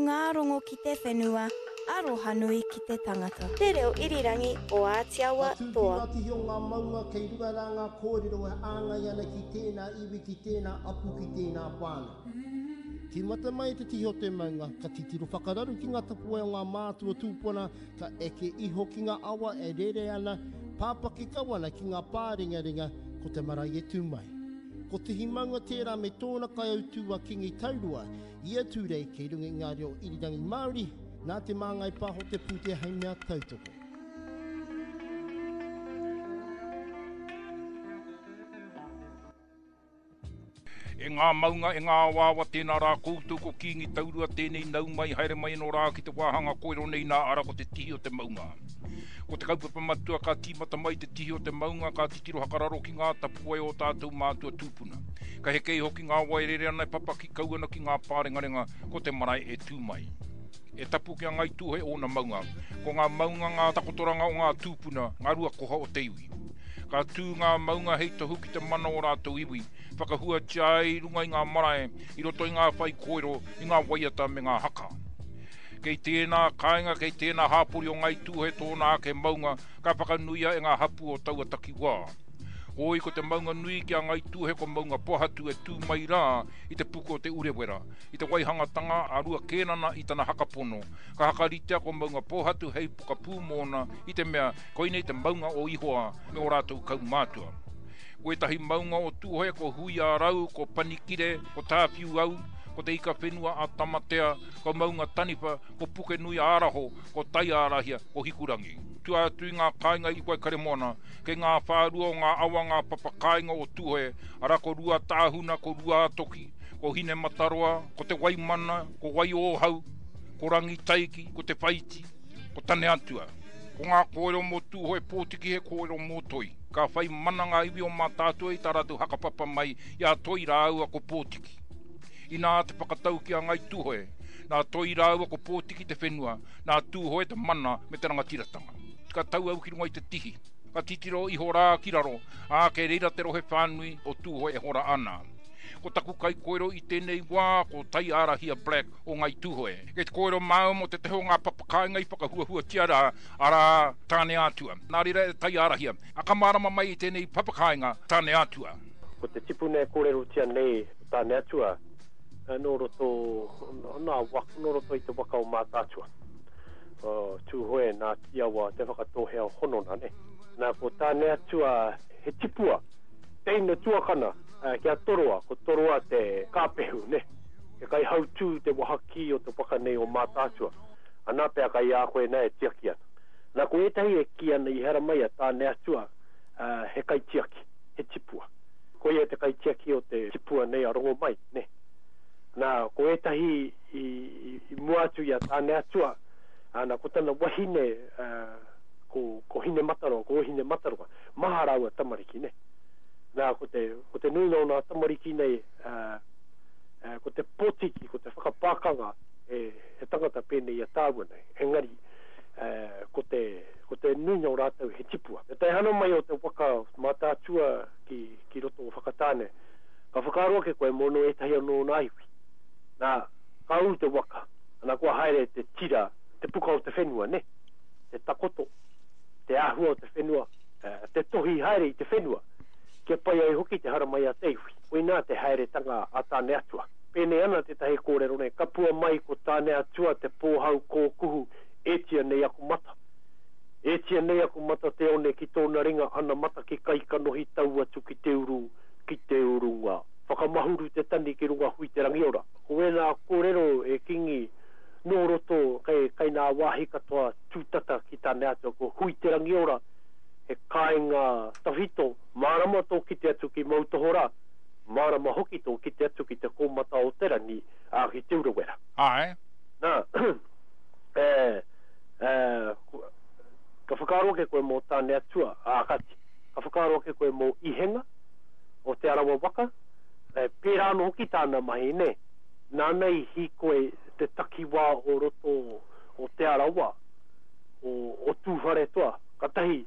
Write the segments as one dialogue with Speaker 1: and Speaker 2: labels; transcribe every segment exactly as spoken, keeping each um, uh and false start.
Speaker 1: Maungārongo ki te whenua, arohanui ki te tangata. Te reo irirangi o Ātiawa
Speaker 2: Ka tū ki
Speaker 1: Toa.
Speaker 2: ngā tihi o ngā maunga kei runga rā ngā kōrero e āngai ana ki tēnā iwi, ki tēnā apu, ki tēnā whānau. Tīmata mai te tihi o te maunga, ka titiro whakararu ki ngā tapuwae o ngā mātua tūpuna, ka eke iho ki ngā awa e rere ana, pāpaki kau ana ki ngā pārengarenga, ko te marae e tū mai. Ko Tihi Maunga tērā me tōna kaiautū a Kingi Taurua, ia Tūrei kei runga i ngā reo irirangi Māori, nā Te Māngai Pāho te pūtea hei mea tautoko.
Speaker 3: E ngā maunga, e ngā awaawa, tēnā rā koutou ko Kīngi Taurua tēnei nau mai, haere mai anō rā ki te wāhanga koero nei nā ara ko te tihi o te maunga. Ko te kaupapa matua ka tīmata mai te tihi o te maunga ka titiro hakararo ki ngā tapuwae o tātou mātua tūpuna. Ka heke iho ki ngā wai rere ana e papaki kau ana ki ngā pārengarenga ko te marae e tū mai. E tapu ki a Ngāi Tūhoe ōna maunga. Ko ngā maunga ngā takotoranga o ngā tūpuna, ngā rua koha o te iwi. Ka tū ngā maunga hei tohu ki te mana o rātou iwi, whakahuatia ai i runga i ngā marae, i roto i ngā whaikōrero, i ngā waiata me ngā haka. Kei tēnā kāinga, kei tēnā hāpori o Ngāi Tūhoe tōna ake maunga ka whakanuia e ngā hapū o taua takiwā. Hoi ko te maunga nui ki a Ngāi Tūhoe ko Maunga Pohatu e tū mai rā i te puku o Te Urewera, i te waihangatanga a Rua Kēnana i tana hakapono, ka hakaritea ko Maunga Pohatu hei pokapū mōna i te mea koinei te maunga o Ihoa me ō rātou kaumātua. Ko ētahi maunga o Tūhoe ko Huiarau, ko Panikire, ko Tāwhiuau, ko Te Ika Whenua a Tamatea, ko Maunga Taniwha, ko Pukenui a Araho, ko Taiārahia, ko Hikurangi. Tua atu i ngā kāinga i Waikaremoana, kei ngā whārua o ngā awa ngā papa kāinga o Tūhoe, arā ko Ruatāhuna, ko Ruātoki, ko Hinemataroa, ko Te Waimana, ko Waiōhau, ko Rangitaiki, ko Te Whaiti, ko Taneatua. Ko ngā kōrero mō Tūhoe Pōtiki he kōrero mō Toi. Ka whai mana ngā iwi o Mātaatua i tā rātou hakapapa mai i a Toi rāua ko Pōtiki. Inā te whakatau ki a Ngāi Tūhoe, nā Toi rāua ko Pōtiki te whenua, nā Tūhoe te mana me te rangatiratanga. Ka tau au ki runga i te tihi, ka titiro iho rā ki raro, ā, kei reira te rohe whānui o Tūhoe e hora ana. Ko taku kaikōrero i tēnei wā ko Taiārahia Black o Ngāi Tūhoe. Kei te kōrero māua mō tētahi o ngā papakāinga i whakahuahuatia rā, arā, Tāneatua. Nā reira e Taiārahia, a ka mārama mai i tēnei papakāinga, Tāneatua.
Speaker 4: Ko te tipuna e kōrerotia nei, ko Tāneatua, nō roto, nā, nō roto i te waka o Mātaatua. O Tūhoe, nā Tīawa, Te Whakatōhea o Honona, nē. Nā, ko Tāneatua he tipua, teina tuakana ki a Toroa, ko Toroa te kāpehu, nē. He kaihautū te wahakī o te waka nei o Mātaatua. Anā pea kai a koe nā e tiaki ana. Nā, ko ētahi e kī ana i haramai a Tāneatua he kaitiaki, he tipua. Koia te kaitiaki o te tipua nei a Rongomai, nē. Nā, ko ētahi i, i mua atu i a Tāneatua, nā, ko tana wahine, ko, ko Hinemataroa, ko Ohinemataroa, maha rāua tamariki, nē. Nā, ko te, ko te nuinga o nā tamariki nei, ko te potiki, ko te whakapākanga, he, he tangata pēnei i a tāua nei. Engari, ko te, ko te nuinga o rātou he tipua. Te taehana mai o te waka Mātaatua ki, ki roto o Whakatāne, ka whakaaro ake koe mō nō ētahi anō nā iwi. Nā, ka ū te waka, ana kua haere te tira, te puka o te whenua, nē? Te takoto, te āhua o te whenua, te tohi haere i te whenua, kia pai ai hoki te haramai a te iwi. Koinā te haeretanga a Tāneatua. Pēnei ana tētahi kōrero nei, kapua mai ko Tāneatua te pōhau kōkuhu, ētia nei aku mata. Ētia nei aku mata te one ki tōna ringa ana mata ki kaikanohi tau atu ki te uru, ki te urunga. Whakamahuru te tani ki runga hui te rangiora. Ko wēnā kōrero e Kingi nō roto kei, kei nā wāhi katoa tūtata ki Tāneatua ko Hui te Rangiora, he kāinga tawhito, mārama tō kite atu ki Moutohorā, mārama hoki tō kite atu ki te kōmata o te rangi, ā, ki Te Urewera.
Speaker 3: Āe.
Speaker 4: Nā, e, e, ka whakaaro ake koe mō Tāneatua, ā, kāti, ka whakaaro ake koe mō Ihenga, o Te Arawa waka, e, pērā anō hoki tāna mahi, nē. Nāna i hīkoi te takiwā o roto o Te Arawa, o, o Tūwharetoa, katahi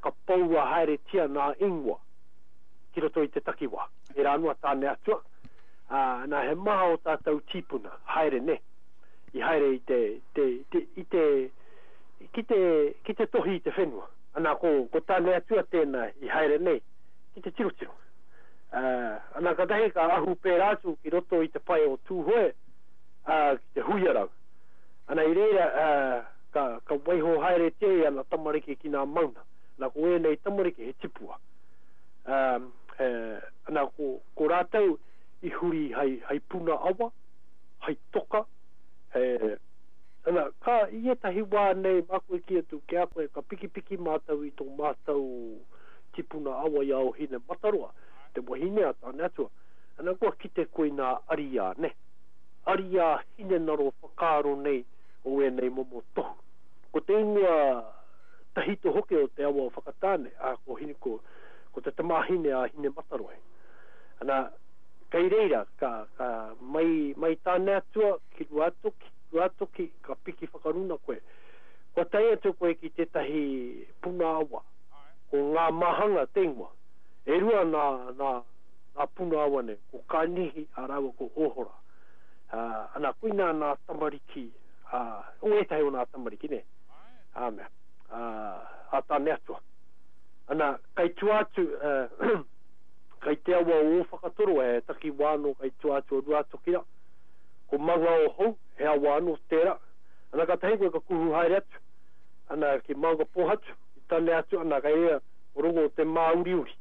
Speaker 4: ka poua haeretia nā ingoa ki roto i te takiwā. Pērā anō a Tāneatua, ā, nā he maha o tātou tīpuna, haere nē, i haere i te, te, te, i te, ki te, ki te tohi i te whenua. Ana ko, ko Tāne Atua tēnā i haere nei ki te tirotiro. Uh, ana katahi ka ahu pērā atu ki roto i te pae o Tūhoe, uh, ki te Huiarau. Ana i reira, uh, ka, ka waiho haere te ana tamariki ki ngā mauna. Ana ko ēnei tamariki he tipua. Um, eh, ana ko, ko rātou i huri hai, hai puna awa, hai toka, he, ana, ka i ētahi wā nei māku e kī atu ki a koe, ka pikipiki mātou i tō mātou tipuna awa i a Ōhinemataroa, te wahine a Tāne Atua. Ana kua kite koe nā ariā, ne? Ariā hinengaro whakaaro nei o ēnei momo tohu. Ko te ingoa tahito hoki o te awa o Whakatāne, a ko hine, ko, ko te tamāhine a Hinemataroa. Ana, kei reira, ka, ka mai, mai Tāne Atua ki Ruatoki, Ruatoki, ka piki whakaruna koe. Kua tae atu koe ki tētahi puna awa, ko ngā mahanga te ingoa. E rua nā, nā, nā puna awa nei, ko Kānihi a rāua ko Ohora. Uh, ana, koinā nā tamariki, uh, o ētahi o nā tamariki, ne? Ā mea, uh, a Tāne Atua. Ana, kai tua atu, uh, kai te awa o Ōwhakatoro, he takiwā anō kai tua atu o Ruatoki rā. Ko Manga-o-hou, he awa anō tērā. Ana, katahi koe ka kuhu haere atu. Ana, ki Maungapōhatu, ki Tāne Atua, ana, kai reira, ko rongo o te Māuriuri.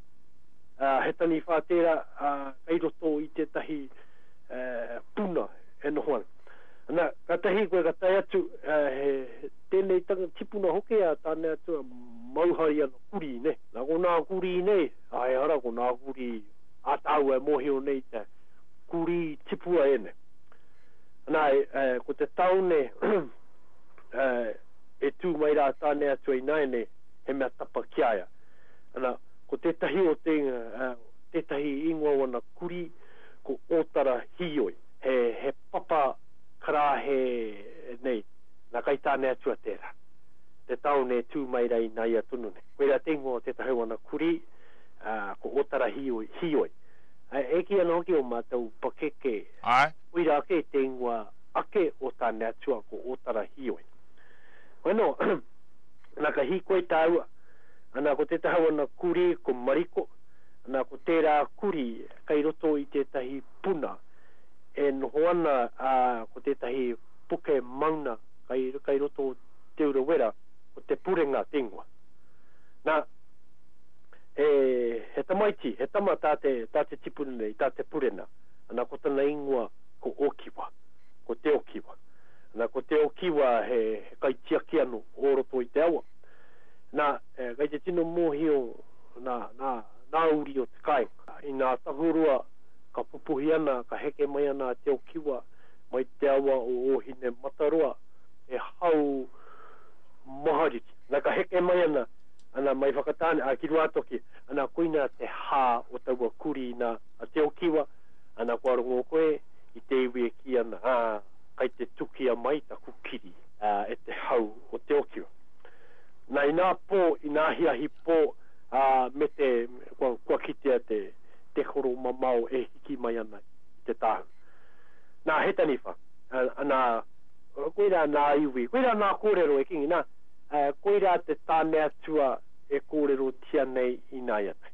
Speaker 4: Uh, he taniwha tērā, uh, kai roto i tētahi uh, puna e noho ana. Ana, katahi koe ka tae atu, uh, he, he tēnei tanga tipuna hoki a Tāne Atua, mauhari ana kurī, ne? Nā ko nā kurī nei, ai hara ko nā kurī a tāua e mōhio nei te kurī tipua e nei. Ana, e, e, ko te taone e, e tū mai rā Tāne Atua i nāianei, he mea tapa ki a ia. Ana, ko tētahi o te, uh, tētahi ingoa o ana kurī, ko Ōtara Hīoi. He, he papa karāhe nei, nā kai Tāne Atua tērā. Te taone e tū mai rā i nāia tonu nei. Koirā te ingoa o tētahi o ana kurī, uh, ko Ōtara Hīoi. Hīoi. E, e kī ana hoki o mātou pakeke,
Speaker 3: Ai.
Speaker 4: koirā ake te ingoa ake o Tāne Atua, ko Ōtara Hīoi. Bueno, ana ka hīkoi tāua, ana ko tētahi o ana kurī, ko Mariko, ana ko tērā kurī kai roto i tētahi puna e noho ana, uh, ko tētahi puke mauna kai, kai roto o Te Urewera, ko Te Purenga te ingoa. Nā, he, he tamaiti, he tama tā te, tā te tipuna nei, tā Te Purena. Ana ko tana ingoa ko Okiwa, ko Te Okiwa. Ana ko Te Okiwa he, he kaitiaki anō o roto i te awa. Nā, e, kai te tino mōhio nā, nā, nā uri o te kāinga. I nā tahurua ka pupuhi ana, ka heke mai ana a Te Okiwa mai te awa o Ōhinemataroa, he hau mahariki. Nā ka heke mai ana, ana mai Whakatāne, a ki Ruatoki, ana koina te hā o taua kurī nā a Te Okiwa, ana kua rongo koe i te iwi e kī ana, ā, kai te tukia mai taku kiri, ā, e te hau o Te Okiwa. Nā inā pō, inā ahiahi pō, ā, me te, kua, kua kitea te, te koro mamao e hiki mai ana i te tāhu. Nā, he taniwha, ana, koirā nā iwi, koirā nā kōrero e kingi, nā, koirā te Tāne Atua e kōrerotia nei i nāianei.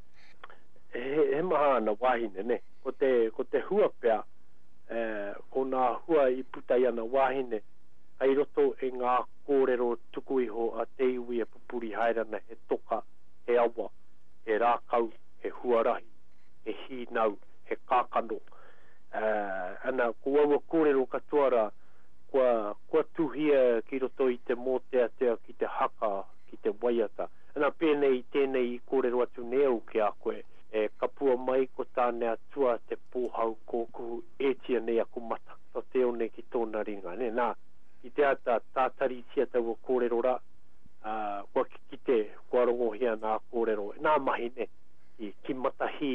Speaker 4: He, he maha ana wāhine, ne? Ko te, ko te hua pea, eh, ko nā hua i puta i ana wāhine, kai roto e ngā kōrero tuku iho a te iwi e pupuri haere ana he toka, he awa, he rākau, he huarahi, he hīnau, he kākano. Uh, ana, ko aua kōrero katoa rā, kua, kua tuhia ki roto i te mōteatea, ki te haka, ki te waiata. Ana, pēnei, tēnei i kōrero atu nei au ki a koe, e kapua mai ko Tāne Atua te pōhau kōkuhu etia nei aku mata, to te one ki tōna ringa. Ne? Nā, i te ata tātaritia taua kōrero rā, uh, kua kite, kua rongohia nā kōrero, nā mahi ne, ki, ki matahī,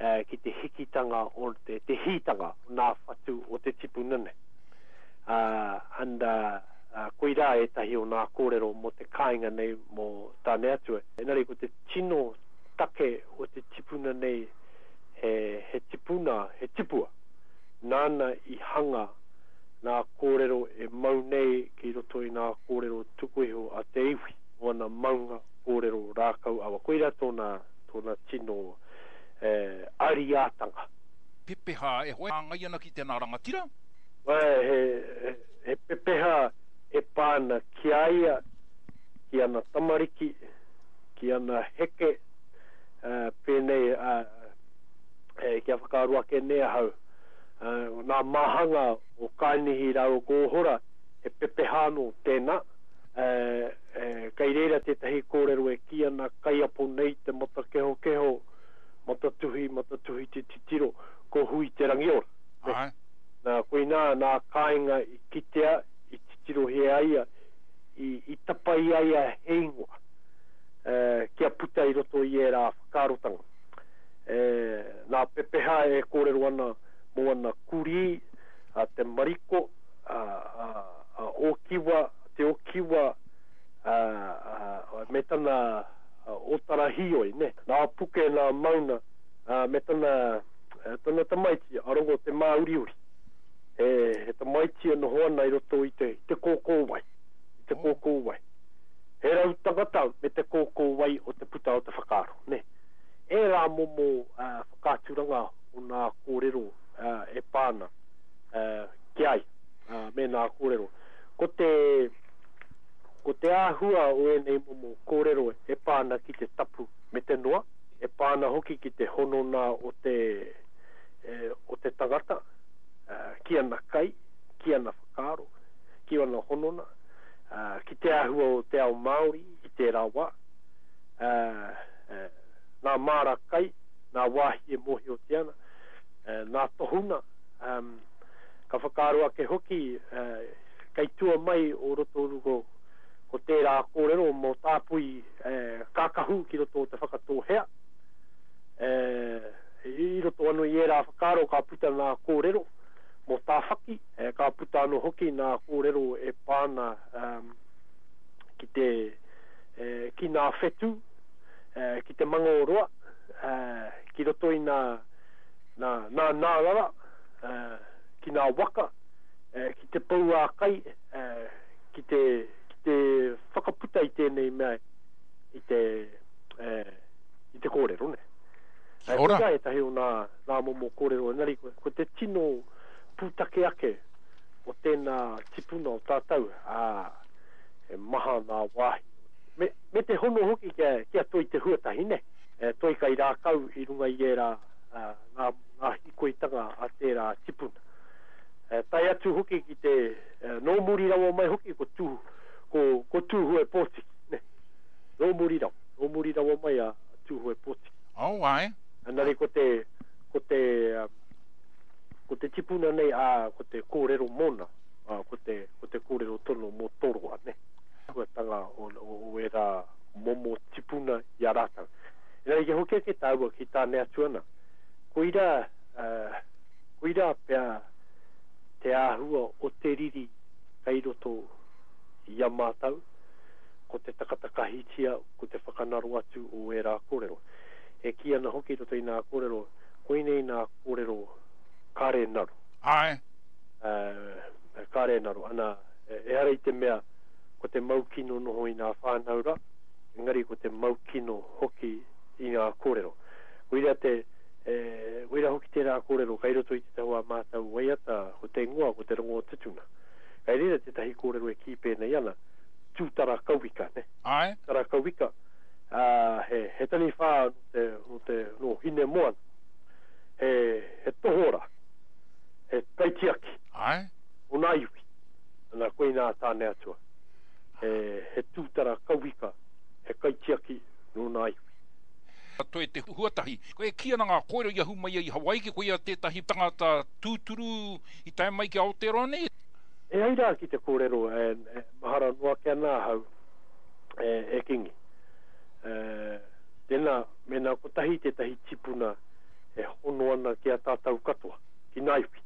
Speaker 4: uh, ki te hikitanga o te, te hītanga o nā whatu o te tipuna nei. Uh, and, uh, uh, koirā ētahi o nā kōrero mō te kāinga nei mō Tāne Atua. Engari ko te tino take o te tipuna nei he, he tipuna, he tipua. Nāna i hanga nā kōrero e mau nei ki roto i nā kōrero tuku iho a te iwi, o ana maunga kōrero rākau awa. Koira tōna, tōna tino eh, ariātanga.
Speaker 3: Pepeha e hoe hāngai ana ki tēnā rangatira?
Speaker 4: He, he, he pepeha e pā ana ki a ia, ki ana tamariki, ki ana heke, uh, pēnei uh, eh, kia whakaaro ake nei ahau. Uh, nā māhanga o Kainihi rāua ko Ohora, he pepeha anō tēnā. Uh, eh, kei reira tētahi kōrero e kī ana kaiapo nei te matakehokeho, matatuhi, matatuhi te titiro, ko hui te rangiora.
Speaker 3: Ai.
Speaker 4: Nā, koinā nā kāinga i kitea, i titirohia ai ia, i, i tapa i a ia he ingoa, eh, kia puta i roto i ērā whakaarotanga. Eh, nā pepeha e kōrero ana mō ana kurī, a te mariko, a, a, a Okiwa, te Okiwa, a, a, me tana a, otara hioi, ne? Nā puke, nā mauna, a, me tana, tana tamaiti, a Rongo te Māuriuri. He, he tamaiti e noho ana i roto i te, i te kōkōwai, i te kōkōwai. He rau tangata me te kōkōwai o te puta o te whakaaro, ne? E rā momo uh, whakaaturanga o nā kōrero uh, e pāna uh, ki ai, uh, me nā kōrero. Ko te, ko te āhua o ēnei momo kōrero e pāna ki te tapu me te noa, e pāna hoki ki te honona o te, e, o te tangata, uh, ki ana kai, ki ana whakaaro, ki ana honona, uh, ki te āhua o te ao Māori i tērā wā, uh, uh, nā māra kai, nā wāhi e mōhiotia ana, uh, nā tohuna, um, ka whakaaro ake hoki, uh, kei tua mai o roto ko, ko tērā kōrero mō tāpui eh, kākahu ki roto o te whakatōhea. Eh, i roto anō i ērā whakaaro ka puta nā kōrero mō tāwhaki, eh, ka puta anō hoki nā kōrero e pāna um, ki te eh, ki nā whetū, eh, ki te mangōroa, eh, ki roto i nā, nā, nā nārara, eh, ki nā waka, eh, ki te pou ā kai, eh, ki te, ki te whakaputa i tēnei mea i te, eh, i te kōrero, ne?
Speaker 3: Kia ora.
Speaker 4: Koirā ētahi o nā, nā momo kōrero, engari ko, ko te tino pūtake ake o tēnā tipuna o tātou, ā, e maha nā wāhi. Me, me te hono hoki kia, kia toi te huatahi, ne? E, toi kai rākau i runga i ērā uh, ngā, ngā hikoitanga a tērā tipuna. E, tae atu hoki ki te, e, nō muri rawa mai hoki ko, tū, ko, ko Tūhoe Pōtiki, ne? Nō muri rawa, nō muri rawa mai a, a Tūhoe Pōtiki.
Speaker 3: Oh, ai.
Speaker 4: Engari ko te, ko te, um, ko te tipuna nei, ā, ko te kōrero mōna, ā, ko te, ko te kōrero tono mō Toroa, ne? Huatanga o, o, o ērā momo tipuna i a rātou. Engari kia hoki ake tāua ki Tāne Atua ana. Koirā, uh, koirā pea te āhua o te riri kei roto i a mātou, ko te takatakahitia, ko te whakanaro atu o ērā kōrero. E kī ana hoki roto i nā kōrero, koinei nā kōrero kāre naro.
Speaker 3: Ai.
Speaker 4: Uh, kāre naro. Ana, ehara i te mea ko te maukino noho i nā whānau rā, engari ko te maukino hoki i ngā kōrero. Koira te, e, koira hoki tērā kōrero kei roto i te taua mātau waiata, ko te ingoa, ko te rongo o tutuna. Kei reira tētahi kōrero e kī pēnei ana, tūtara kauika, ne?
Speaker 3: Ai.
Speaker 4: Tūtara kauika, uh, he, he taniwha no te, no te, no Hinemoana. He, he tohora, he kaitiaki.
Speaker 3: Ai.
Speaker 4: O nā iwi. Ana koinā Tāne Atua. He, he tūtara kauika, he kaitiaki no nā iwi.
Speaker 3: Toi te huatahi. Ko e kī ana ngā kōrero i ahu mai ai i Hawaiki, ko ia tētahi tangata tūturu i tae mai ki Aotearoa nei?
Speaker 4: E ai rā ki te kōrero, e, e mahara noa ake ana ahau, e, e Kingi. E, tēnā, mēnā kotahi tētahi tipuna e hono ana ki a tātou katoa, ki nā iwi.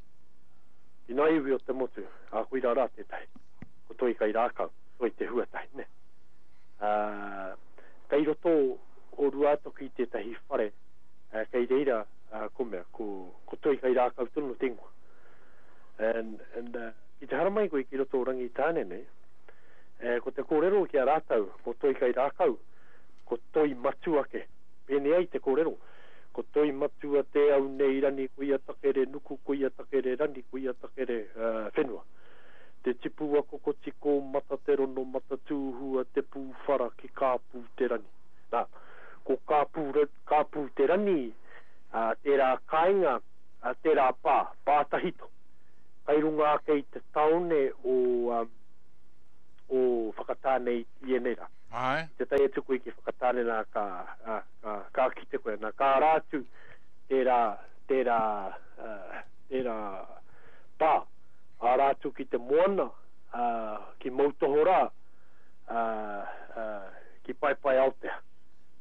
Speaker 4: Ki nā iwi o te motu, a koira rā tētahi. Ko toi kai rākau, toi te huatahi, ne? Uh, kei roto o Ruatoki tētahi whare, uh, kei reira, uh, ko mea, ko, ko toi kai rākau tonu te ingoa. And, and, uh, Ki te haramai koe ki roto o Rangitāne nei, e, ko te kōrero ki a rātou, ko toi kai rākau, ko toi matua ke. Pēnei ai te kōrero. Ko toi matua te au nei rani, ko ia takere nuku, ko ia takere rani, ko ia takere uh, whenua. Te tipua kokoti ko mata te rono, mata tūhua, te pūwhara ki kāpū te rani. Nā, ko kāpū, kāpū te rani, uh, tērā kāinga, uh, tērā pā, pā tahito. Kai runga ake i te taone o, um, o Whakatāne i ēnei rā.
Speaker 3: Ai.
Speaker 4: Te tae atu koe ki Whakatāne nā ka, ka, ka, ka kite koe. Nā, ka ara atu tērā, tērā, uh, tērā pā. Ara atu ki te moana, uh, ki Moutohorā, uh, uh, ki Paepae Aotea.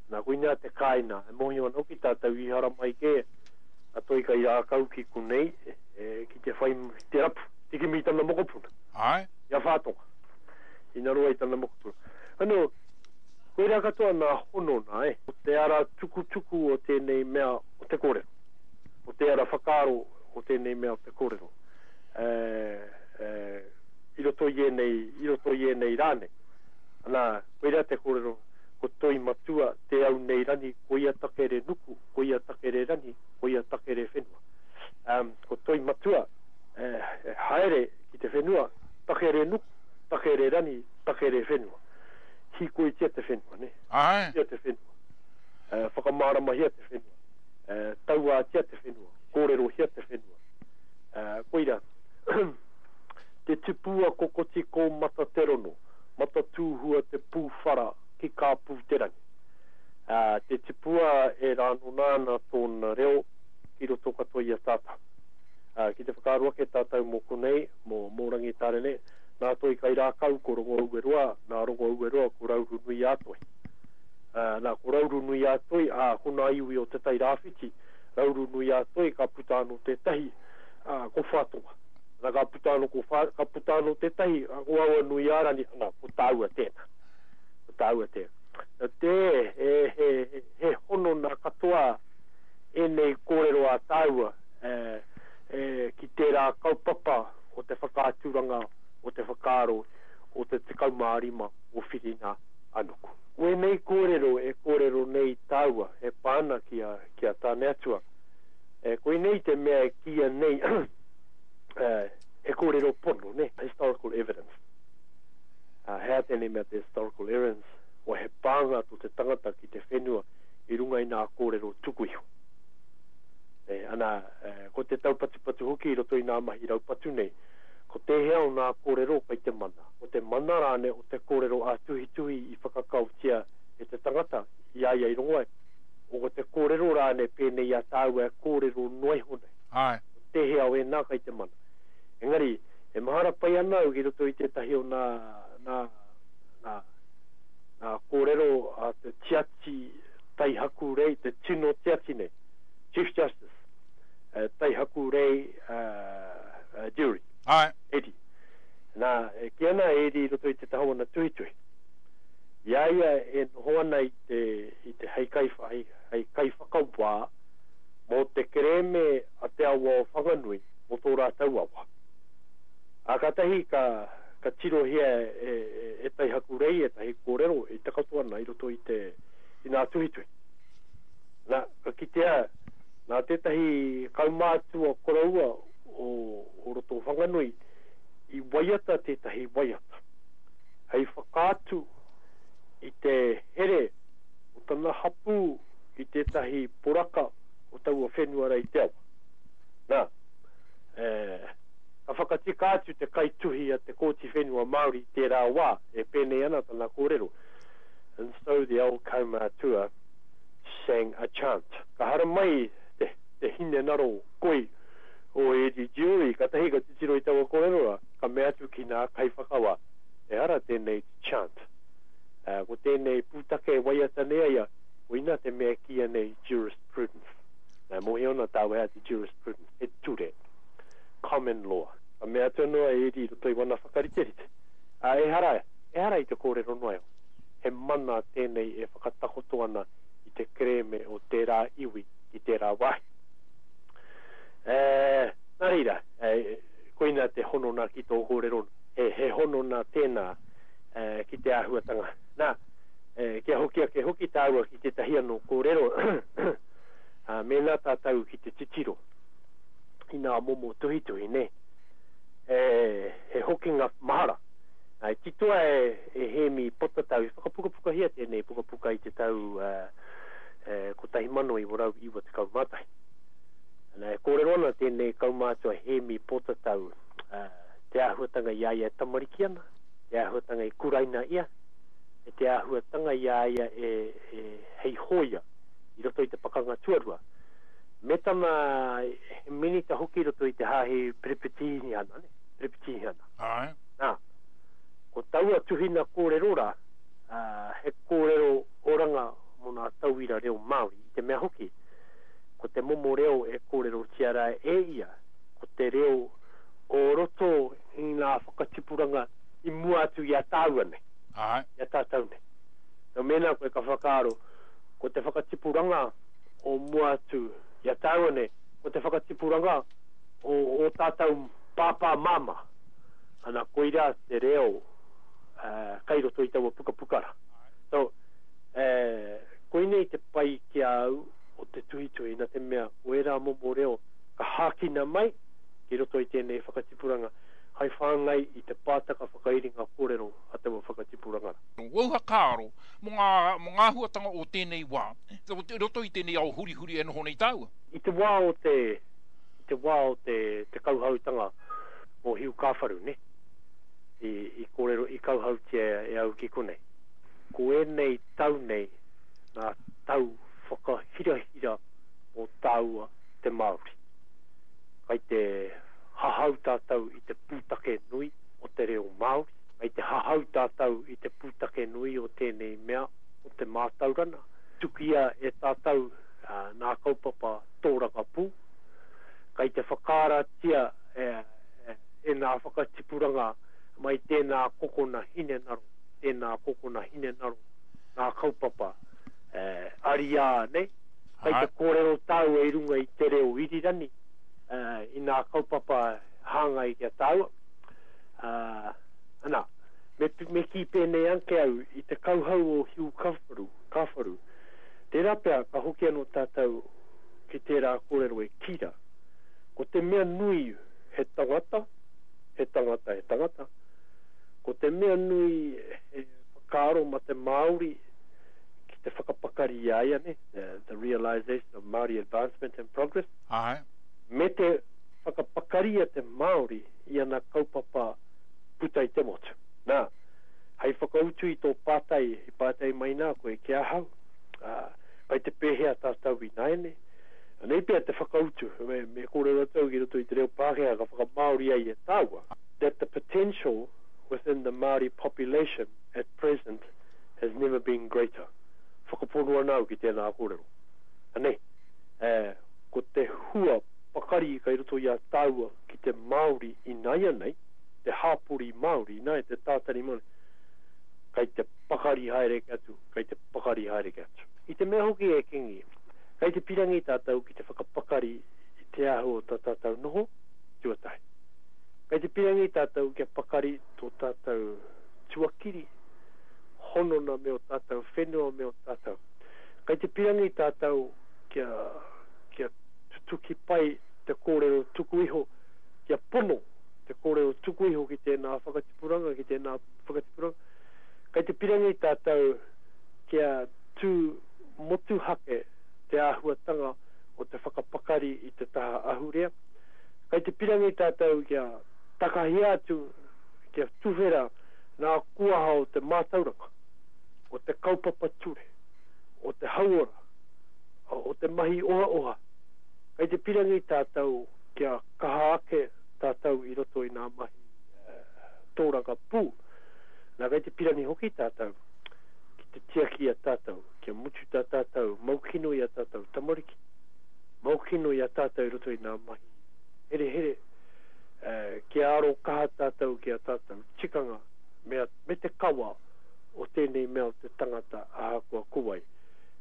Speaker 4: Nā, koina te kāina. E mōhio ana hoki tātou i haramai kē a toi kai rākau ki konei, e, ki te whai, te rapu, te kimi i tana mokopuna.
Speaker 3: Ai.
Speaker 4: I a Whātonga. I naroa i tana mokopuna. Ano, koirā katoa nā hono nā, e. O te ara tukutuku o tēnei mea o te kōrero. O te ara whakaaro o tēnei mea o te kōrero. E, e, i roto i ēnei, i roto i ēnei rānei. Ana, koirā te kōrero, ko toi matua te au nei rani, ko ia takere nuku, ko ia takere rani, ko ia takere whenua. Um, ko toi matua, eh, haere ki te whenua, takere nuku, takere rani, takere whenua. Hikoitia te whenua, ne?
Speaker 3: Ai.
Speaker 4: Hikoitia te whenua. Uh, whakamāramahia te whenua. Uh, tauātia te whenua. Kōrerohia te whenua. Uh, koira, te tipua kokoti ko mata te rono, mata tūhua te pūwhara ki kāpū te rangi. Uh, te tipua e rānona ana tōna reo ki roto katoa i a tātou. Uh, ki te whakaaro ake tātou mō konei, mō, mō Rangitāne, nā toi kai rākau ko Rongo Ueroa, nā Rongo Ueroa ko Rauru Nui a Toi. Uh, nā, ko Rauru Nui a Toi, ā, ko nā iwi o Te Tai Rāwhiti, Rauru Nui a Toi ka puta anō tētahi, uh, ko Whātonga. Nā, ka puta anō, ko whā, ka puta anō tētahi, ko Awa Nui a Rani, nā, ko tāua tēnā. Ko tāua tēnā. Nā te, he, he, he, he hono nā katoa ēnei kōrero a tāua, e, e, ki tērā kaupapa o te whakaaturanga, o te whakaaro, o te tekau mā rima o Whiringa Anuku. Wēnei kōrero e kōrero nei tāua e pāna ki a, ki a Tāne Atua. E, koinei te mea e kīia nei e, he kōrero pono, ne? Historical evidence. Uh, he a tēnei mea te historical evidence, o he pānga tō te tangata ki te whenua i runga i nā kōrero tuku iho. E, ana, e, ko te taupatupatu hoki i roto i nā mahi raupatu nei, ko tēhea o nā kōrero kai te mana. Ko te mana rāne o te kōrero a tuhituhi i whakakautia e te tangata i a ia i rongo ai. O ko te kōrero rāne pēnei a tāua e kōrero noa iho nei.
Speaker 3: Ai.
Speaker 4: Ko tēhea o e nā kai te mana. Engari, e mahara pai ana au ki roto i tētahi o nā, nā, nā, nā kōrero a te tiati Taihakurei, te tino tiati nei, Chief Justice, uh, Taihakurei uh, uh, Durie.
Speaker 3: Ai.
Speaker 4: Eddie. Nā, e ki ana Eddie i roto i te tahawana tuhituhi. I a ia e noho ana i te, i te hei kaiwha, hei, hei kaiwhakawā mō te kerēme a te awa o Whanganui, mō tō rātou awa. A kātahi ka, ka tirohia e, e, e Taihakurei, e tahi kōrero, e takoto ana i roto i te, i nā tuhituhi. Nā, ka kitea, nā tētahi kaumātua koroua o, o roto o Whanganui, i waiata tētahi waiata. Hei whakaatu i te here o tana hapū i tētahi poraka o taua whenua rei te awa. Nā, e, ka whakatika atu te kaituhi a te Kōti Whenua Māori tērā wā, e pēnei ana tana kōrero. And so the old kaumātua sang a chant. Ka haramai te, te hinengaro koi o Eddie Durie, ka tahi ka titiro i taua kōrero rā, ka mea atu ki nā kaiwhakawā. Ehara tēnei chant. Uh, ko tēnei pūtake waiata nei ia, koina te mea kīia nei jurisprudence. Nā, mōhio ana tāua hea te jurisprudence, he ture, common law. Ka mea atu anō a Eddie i roto i wana whakariterite. Uh, ehara, ehara i te kōrero noa iho. He mana tēnei e whakatakoto ana i te kerēme o tērā iwi i tērā wāhi. E, nā reira, e, koina Koina te honona ki tō kōrero, he, he honona tēnā eh, ki te āhuatanga. Nā, eh, kia hoki ake hoki tāua ki tētahi anō kōrero, uh, mēnā tātou ki te titiro i ngā momo tuhituhi, ne? E, he hokinga mahara. Ai, titoa e, e Hēmi Potatau, i whakapukapukahia tēnei pukapuka i te tau uh, eh, kotahi mano iwa rau iwa tekau mā tahi. Nā, e kōrero ana tēnei kaumātua Hēmi Potatau, uh, te āhuatanga i a ia e tamariki ana, te āhuatanga i kuraina ia, e te āhuatanga i a ia e, e hei hōia i roto i te pakanga tuarua. Me tana he minita hoki i roto i te hāhi Perepitīhiana, ne? Perepitīhiana.
Speaker 3: Āe.
Speaker 4: Nā, ko taua tuhina kōrero rā, uh, he kōrero oranga mō ngā tauira reo Māori, i te mea hoki, ko te momo reo e kōrerotia rā e ia, ko te reo o roto i ngā whakatipuranga i mua atu i a tāua nei,
Speaker 3: Āe.
Speaker 4: i a tātou nei. Nō mēnā koe ka whakaaro, ko te whakatipuranga o mua atu i a tāua nei, ko te whakatipuranga o, o tātou pāpā māmā. Ana koira te reo uh, kai roto i taua pukapuka rā. So, eh, koinei te pai ki a au o te tuhituhi, nā te mea o ērā momo reo ka hākina mai ki roto i tēnei whakatipuranga, hai whāngai i te pātaka whakairinga kōrero a taua whakatipuranga rā.
Speaker 3: Wau whakaaro mō ngā, mō ngā huatanga o tēnei wā, i roto i tēnei ao hurihuri e noho nei tāua.
Speaker 4: I te wā o te, i te wā o te, te kauhautanga o Hiu Kāwharu, ne? I, i kōrero, i kauhautia e au ki konei. Ko ēnei tau nei, ngā tau whakahirahira o tāua te Māori. Kai te hahau tātou i te pūtake nui o te reo Māori, kai te hahau tātou i te pūtake nui o tēnei mea o te mātauranga. Tukia e tātou uh, nā kaupapa tōrangapū, kai te whakaaratia e, e, e nā whakatipuranga mai tēnā kokona hinengaro, tēnā kokona hinengaro, nā kaupapa eh, ariā nei, kai te kōrero tāua i runga i te reo irirani, eh, i nā kaupapa hāngai ki a tāua. Uh, ana, me, me kī pēnei anke au i te kauhau o Hiu Kāwharu, Kāwharu. Tērā pea ka hoki anō tātou ki tērā kōrero e kira. Ko te mea nui he tangata, he tangata, he tangata. Ko te mea nui he whakaaro ma te Māori ki te whakapakari i a ia, ne? The, the realization of Māori advancement and progress.
Speaker 3: Āe.
Speaker 4: Me te whakapakari a te Māori i ana kaupapa puta i te motu. Nā, hei whakautu i tō pātai, i pātai mai nā koe ki ahau, uh, kai te pēhea tātou i nāiane. Anei pea te whakautu, me, me kōrero tau ki roto i te reo Pākehā ka whakamāori ai e tāua, that the potential within the Māori population at present has never been greater. Whakapono ana au ki tēnā kōrero. Anei, eh, ko te hua pakari kai roto i a tāua ki te Māori i nāianei, te hāpori Māori, nā, te tātari Māori, kai te pakari haere ke atu, kai te pakari haere ke atu. I te mea hoki e Kingi, kai te pirangi tātou ki te whakapakari i te āhua o tā tātou noho, tuatahi. Kai te pirangi tātou kia pakari tō tātou tuakiri, honona me o tātou whenua me o tātou. Kai te pirangi tātou kia, kia tutuki pai te kōrero tuku iho, kia pono te kōrero tuku iho ki tēnā whakatipuranga, ki tēnā whakatipuranga. Kai te pirangi tātou kia tū motuhake te āhuatanga o te whakapakari i te taha ahurea. Kai te pirangi tātou kia takahia atu, kia tuwhera nā kuaha o te mātauranga, o te kaupapa ture, o te hauora, o te mahi oha oha. Kai te pirangi tātou kia kaha ake tātou i roto i ngā mahi uh, tōrangapū. Nā kai te pirangi hoki tātou ki te tiaki i a tātou, kia mutu tā tātou, maukino i a tātou tamariki, maukino i a tātou i roto i ngā mahi here here, uh, kia aro kaha tātou ki a tātou tikanga me, a, me te kawa o tēnei mea o te tangata ahakoa ko wai.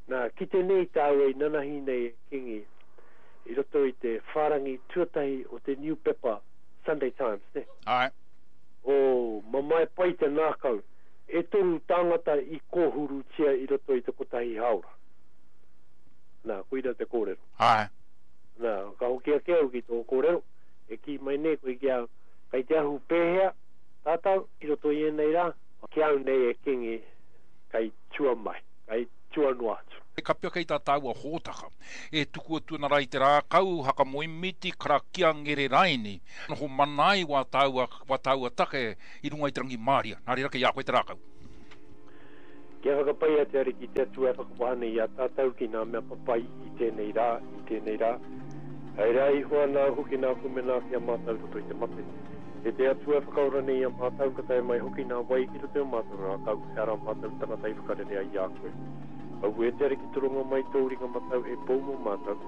Speaker 4: Nā, ki tēnei tāua i nanahi nei e Kingi, i roto i te whārangi tuatahi o te niupepa Sunday Times, ne?
Speaker 3: Āe.
Speaker 4: Oh, mamae pai te nākau. E toru tāngata i kōhurutia i roto i te kotahi hāora. Nā, koira te kōrero.
Speaker 3: Āe.
Speaker 4: Nā, ka hoki ake au ki tō kōrero, e kī mai nei koe ki au, kei te ahu pēhea tātou i roto i ēnei rā? Ki au nei e Kingi, kei tua mai, kei tua noa atu.
Speaker 3: E kapi ake i tā tāua hōtaka, e tuku atu ana rā i te rākau, hakamoemiti, karakia, ngere raini, noho mana ai wā tāua, wā tāua take i runga i te rangimāria. Nā reira kei a koe te rākau.
Speaker 4: Kia whakapaia te Ariki te Atua e whakawaha nei i a tātou ki ngā mea papai i tēnei rā, i tēnei rā. Hei rā iho ana hoki nā kumena ki a mātou i roto i te mate. E te Atua e whakaora nei i a mātou, ka tae mai hoki nā wai ki roto i o mātou ngākau, he ara mātou tangata i whakarere ai i a koe. Aue te Ariki toronga mai tōu ringa matau hei pou mō mātou,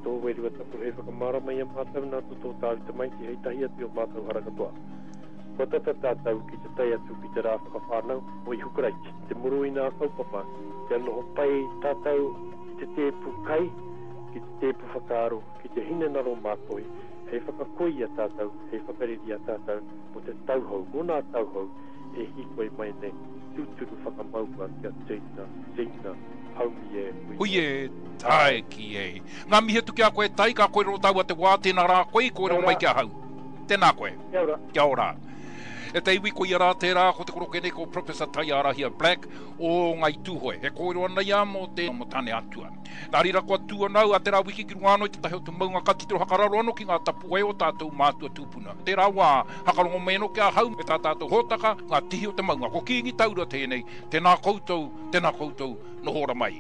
Speaker 4: tō Wairua Tapu hei whakamārama i a mātou nā to tō tāu Tamaiti hei tahi atu i o mātou hara katoa. Kua tata tātou ki te tae atu ki te rā whakawhānau o Ihu Karaiti, te muru i nā kaupapa kia noho pai tātou ki te tēpu kai, ki te tēpu whakaaro, ki te hinengaro mātoi, hei whakakoi i a tātou, hei whakareri i a tātou mō te tauhou, mō nā tauhou e hīkoi mai nei, tūturu whakamaua kia tina, tina, haumi e, hui
Speaker 3: Hui e, tae ki e. Ngā mihi atu ki a koe Tai, ka kōrero tāua te wā, tēnā rā koe i kōrero mai ki ahau. Tēnā koe.
Speaker 4: Kia ora.
Speaker 3: Kia ora. E te iwi, koia rā tērā, ko te koroke nei ko Professor Taiarahia Black o Ngai Tūhoe. E kōrero ana ia mō te mō Tāne Atua. Nā reira kua tū ana au a tērā wiki ki runga anō i te tahi o te maunga ka titiro hakararo anō ki ngā tapuwae o tātou mātua tūpuna. Tērā wā, hakarongo mai anō ki ahau me tā tātou hōtaka, ngā tihi o te maunga. Ko Kīngi Taura tēnei, tēnā koutou, tēnā koutou, noho ora mai.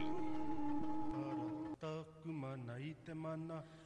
Speaker 5: Taku mana i te mana.